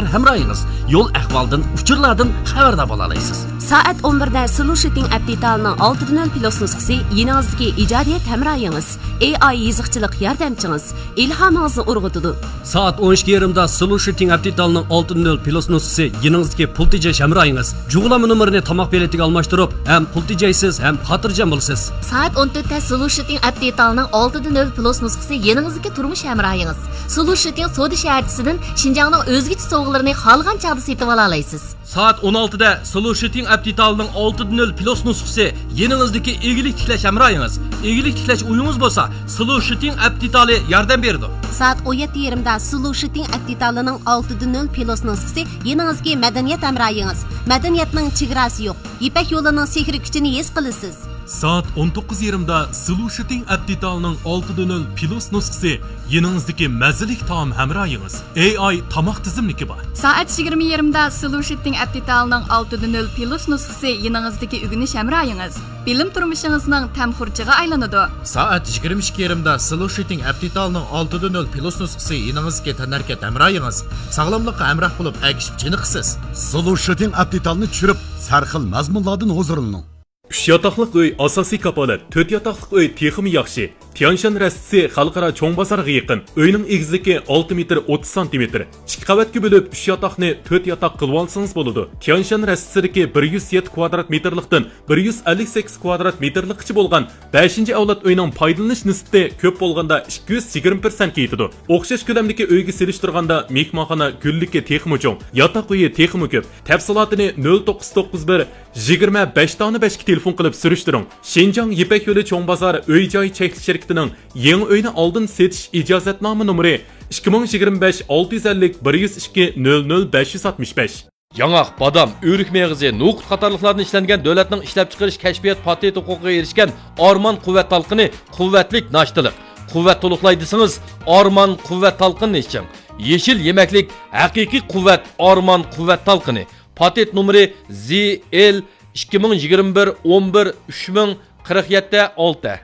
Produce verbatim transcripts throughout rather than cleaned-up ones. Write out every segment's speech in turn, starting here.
ھەمراھىڭىز. يول ئەھۋالدىن، ئۇچۇرلاردىن خەۋەردار بولالايسىز. سائەت ئون بىردە سلوشىتىڭ ئەپ دېتالىنىڭ ئالتىدە نۆل پلۇس نۇسخىسى يېنىڭىزدىكى ئىجادىيەت ھەمراھىڭىز. ئېي ئاي يېزىقچىلىق ياردەمچىڭىز ئىلھامىڭىزنى ئۇرغۇتىدۇ. سائەت ئون ئىككى يېرىمدا سلوشىتىڭ ئەپ دېتالىنىڭ ئالتىدە نۆل پلۇس نۇسخىسى يېنىڭىزدىكى پۇل تېجەش ھەمراھىڭىز. جۇغلانما نومۇرىنى تاماق بېلىتىگە ئالماشتۇرۇپ، ھەم پۇل تېجەيسىز، ھەم خاتىرجەم بولىسىز. سائەت ئون تۆتتە سلوشىتىڭ ئەپ دېتالىنىڭ ئالتىدە نۆل پلۇس نۇسخىسى يېنىڭىزدىكى تۇرمۇش ھەمراھىڭىز. سلوشىتىڭ سودا شەھەرچىسىدىن شىنجاڭنىڭ ئۆزگىچە سوۋغىلىرىنى خالىغان چاغدا سېتىۋالالايسىز. سائەت ئون ئالتىدە سلوشىتىڭ ئەپ دېتالىنىڭ ئالتىدە نۆل پلۇس نۇسخىسى يېنىڭىزدىكى ئىگىلىك تىكلەش ھەمراھىڭىز. ئىگىلىك تىكلەش ئويىڭىز بولسا، سلوشىتىڭ ئەپ دېتالى ياردەم بېرىدۇ. سائەت ئون يەتتە يېرىمدا سلوشىتىڭ ئەپ دېتالىنىڭ ئالتىدە نۆل پلۇس نۇسخىسى يېنىڭىزدىكى مەدەنىيەت ھەمراھىڭىز. مەدەنىيەتنىڭ چېگراسى يوق. يىپەك يولىنىڭ سېھرىي كۈچىنى ھېس قىلىسىز. سائەت ئون توققۇز يېرىمدا سلوشىتىڭ ئەپ دېتالىنىڭ ئالتىدە نۆل پلۇس نۇسخىسى يېنىڭىزدىكى مەززىلىك تائام ھەمراھىڭىز. ئېي ئاي تاماق تىزىملىكى بار. سائەت يىگىرمە يېرىمدا سلوشىتىڭ ئەپ دېتالىنىڭ ئالتىدە نۆل پلۇس نۇسخىسى يېنىڭىزدىكى ئۆگىنىش ھەمراھىڭىز. بىلىم تۇرمۇشىڭىزنىڭ تەم خۇرجىغا ئايلىنىدۇ. سائەت يىگىرمە ئىككى يېرىمدا سلوشىتىڭ ئەپ دېتالىنىڭ ئالتىدە نۆل پلۇس نۇسخىسى يېنىڭىزدىكى تەنھەرىكەت ھەمراھىڭىز. ساغلاملىققا ھەمراھ بولۇپ، ئەگىشىپ چېنىقىسىز. سلوشىتىڭ ئەپ دېتالنى چۈشۈرۈپ، سەرخىل مەزمۇنلاردىن ھۇزۇرلىنىڭ. ئۈچ ياتاقلىق ئۆي ئاساسىي كاپالەت، تۆت ياتاقلىق ئۆي تېخىمۇ ياخشى. تيانشان رەستىسى خەلقئارا چوڭ بازارغا يېقىن. ئۆينىڭ ئېگىزلىكى ئالتە مېتىر ئوتتۇز سانتىمېتىر. ئىككى قەۋەتكە بۆلۈپ، ئۈچ ياتاقنى تۆت ياتاق قىلىۋالسىڭىز بولىدۇ. تيانشان رەستىسىدىكى بىر يۈز يەتتە كۋادرات مېتىرلىقتىن بىر يۈز ئەللىك سەككىز كۋادرات مېتىرلىققىچە بولغان بەشىنچى ئەۋلاد ئۆينىڭ پايدىلىنىش نىسبىتى كۆپ بولغاندا ئىككى يۈز يىگىرمە پىرسەنتكە يېتىدۇ. ئوخشاش كۆلەمدىكى ئۆيگە سېلىشتۇرغاندا مېھمانخانا گۈللۈكى تېخىمۇ چوڭ، ياتاق ئۆيى تېخىمۇ كۆپ. تەپسىلاتىنى نۆل توققۇز توققۇز بىر، يىگىرمە بەش تانە بەشكە تېلېفون قىلىپ سۈرۈشتۈرۈڭ. شىنجاڭ يىپەك يولى چوڭ بازار ئۆي جاي چەكلىك شىركىتىنىڭ يېڭى ئۆينى ئالدىن سېتىش ئىجازەتنامە نومۇرى ئىككى مىڭ يىگىرمە بەش ئالتە يۈز ئەللىك بىر يۈز ئىككى نۆل نۆل بەش يۈز ئاتمىش بەش. ياڭاق، بادام، ئۆرۈك مېغىزى، نوقۇت قاتارلىقلاردىن ئىشلەنگەن دۆلەتنىڭ ئىشلەپچىقىرىش كەشپىيات پاتېنت ھوقۇقىغا ئېرىشكەن ئارمان قۇۋۋەت تالقىنى، قۇۋۋەتلىك ناشتىلىق. قۇۋۋەت تولۇقلاي دېسىڭىز، ئارمان قۇۋۋەت تالقىنىنى ئىچىڭ. يېشىل يېمەكلىك، ھەقىقىي قۇۋۋەت، ئارمان قۇۋۋەت تالقىنى. پاتېنت نومۇرى زى ئېل ئىككى مىڭ يىگىرمە بىر ئون بىر ئۈچ مىڭ قىرىق يەتتە ئالتە.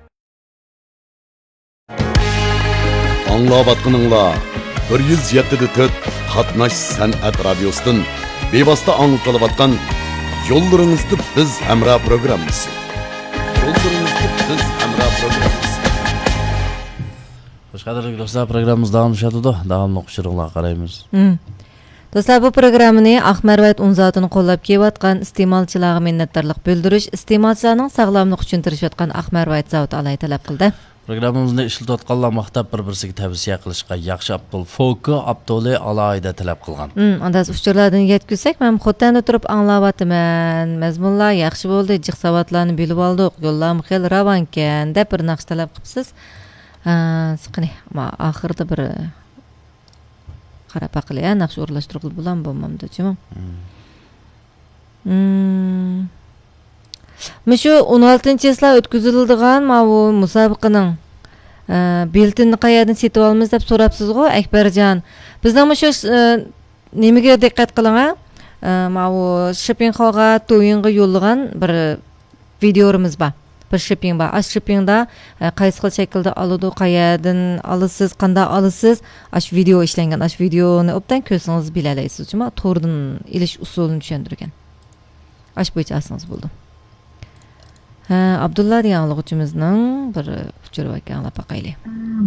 ئاڭلاۋاتقىنىڭلار بىر يۈز يەتتە دە تۆت قاتناش سەنئەت رادىيوسىدىن بىۋاسىتە ئاڭلىتىلىۋاتقان يوللىرىڭىزدا بىز ھەمراھ پروگراممىسى. يوللىرىڭىزدا بىز ھەمراھ پروگراممىسى. خوش، قەدىرلىك دوستلار، پروگراممىمىز داۋاملىشىۋاتىدۇ. داۋاملىق ئۇچۇرۇڭلارغا قارايمىز. مم. دوستلار، بۇ پروگراممىنى ئاق مەرۋايىت ئۇن زاۋۇتىنى قوللاپ كېلىۋاتقان ئىستېمالچىلارغا مىننەتدارلىق بىلدۈرۈش، ئىستېمالچىلارنىڭ ساغلاملىقى ئۈچۈن تىرىشىۋاتقان ئاق مەرۋايىت زاۋۇتى ئالاھىدە تەلەپ قىلدى. پروگراممىمىزنى ئىشلىتىۋاتقانلار ماختاپ بىر-بىرسىگە تەۋسىيە قىلىشقا ياخشى ئاپتول فوكا ئاپتولى ئالاھىدە تەلەپ قىلغان. مم، ئانداز ئۇچۇرلاردىن يەتكۈزسەك، مەن خوتەندە تۇرۇپ ئاڭلاۋاتىمەن. مەزمۇنلار ياخشى بولدى، جىق ساۋاتلارنى بىلىۋالدۇق، يوللارمۇ خېلى راۋانكەن، دەپ بىر ناخشا تەلەپ قىپسىز. ھە، قېنى، ما-، ئاخىرىدا بىر قاراپ باقىلى، ھە، ناخشا ئورۇنلاشتۇرغىلى بولامدۇ، بولمامدۇ، جۇمۇ؟ مم. مم. مۇشۇ ئون ئالتىنچى چىسلا ئۆتكۈزۈلىدىغان ماۋۇ مۇسابىقىنىڭ، ئە، بېلىتىنىنى قەيەردىن سېتىۋالىمىز دەپ سوراپسىزغۇ، ئەكبەرجان. بىزنىڭ مۇشۇ، ئە، نېمىگە دىققەت قىلىڭ، ھە؟ ئە، ماۋۇ شىپىڭخاۋغا، دويىڭغا يوللىغان بىر ۋىدىيورىمىز بار. بىر شىپىڭ بار. ئاشۇ شىپىڭدا، ئە، قايسى خىل شەكىلدە ئالىدۇ، قەيەردىن ئالىسىز، قانداق ئالىسىز، ئاشۇ ۋىدىيو ئىشلەنگەن. ئاشۇ ۋىدىيونى ئوبدان كۆرسىڭىز بىلەلەيسىز. جۇمۇ توردىن ئېلىش ئۇسۇلىنى چۈشەندۈرگەن. ئاشۇ بويىچە ئالسىڭىز بولىدۇ. ھە، ئابدۇللا دېگەن ئاڭلىغۇچىمىزنىڭ بىر ئۇچۇرى باركەن، ئاڭلاپ باقايلى.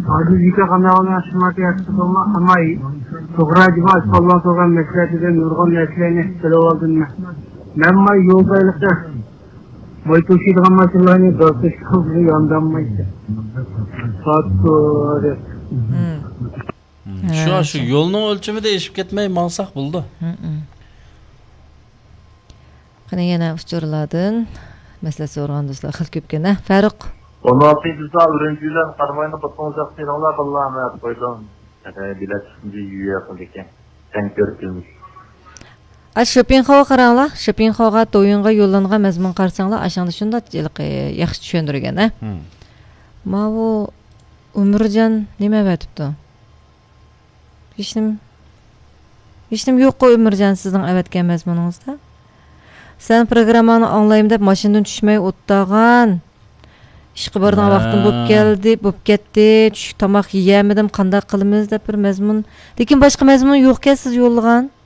ھازىر يېتە قانداق ئاشۇ ماتېرىيال ئەمما توغرا جۇمۇ ئاشۇ قالغان سورغان مەسىلەسىدىن نۇرغۇن نەرسىلەرنى بىلىۋالدىم مەن. مەن ماي يول بايلىقى ماي توشۇيدىغان ماشىنىلارنى داستىشقا قىلغىلى ياندانمايتتى. ساتتۇ دەپ. مم. مم. ھە، شۇ، شۇ شۇ. يولنىڭ ئۆلچىمىدە ئېشىپ كەتمەي ماڭساق بولىدۇ. مم، مم. قېنى يەنە ئۇچۇرلاردىن، مەسىلە سورىغان دوستلار خېلى كۆپكەن، ھە، فاروق؟ ئون ئالتىنچى سال ئۈرۈمچى بىلەن قاراماينى بۇتۇڭ جاق سېلىڭلار باللا مەن قويدۇم. بىلەت يۈيە قىلىدىكەن. سەن كۆرۈپ بىلمىش. ئا، شىپىڭخاۋغا قاراڭلار. شىپىڭخاۋغا، دويىڭغا يوللانغان مەزمۇن قارىساڭلار، ئاشۇڭدا شۇنداق ھېلىقى ياخشى چۈشەندۈرگەن، ھە؟ مم. ماۋۇ ئۆمۈرجان نېمە ئەۋەتىپتۇ؟ ھېچنېمە، ھېچنېمە يوققۇ ئۆمۈرجان سىزنىڭ ئەۋەتكەن مەزمۇنىڭىزدا. سەن پروگرامماڭنى ئاڭلايمەن دەپ ماشىنىدىن چۈشمەي ئولتۇرغان. ئىشقا بارىدىغان ھە. ۋاقتىم بولۇپ كەلدى، بولۇپ كەتتى. چۈشلۈك تاماق يېيەلمىدىم، قانداق قىلىمىز دەپ بىر مەزمۇن. لېكىن باشقا مەزمۇن يوقكەن سىز يوللىغان.